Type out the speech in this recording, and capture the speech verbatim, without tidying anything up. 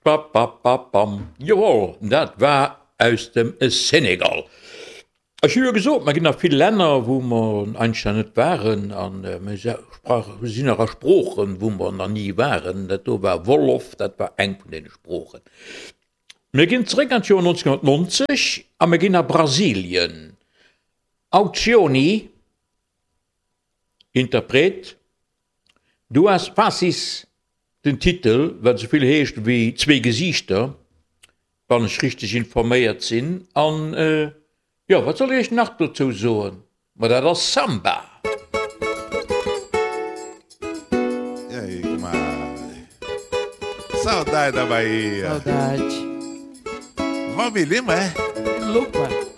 Bapapapam. Jawohl, dat war aus dem Senegal. Ech hu jo gesot, mer ginn a vill Länner, wou mer eigentlech nach net waren, a mir sinn och a Sproochen, wou mer nach ni waren. Dat do war Wolof, dat war eng vun deene Sproochen. Mir ginn zeréck an d'Joer neunzehnhunnertneunzeg a mir ginn a Brasilien. Alcione, Interpret, Duas Faces, den Titel, wat esou vill heescht wéi Zwee Gesiichter, wann ech richteg informéiert sinn. An jo, wat soll ech iech nach dozou soen? Ma dat ass Samba! E aí, comadre? Saudade da Bahia. Saudade. Valmir Lima, é? Lupa.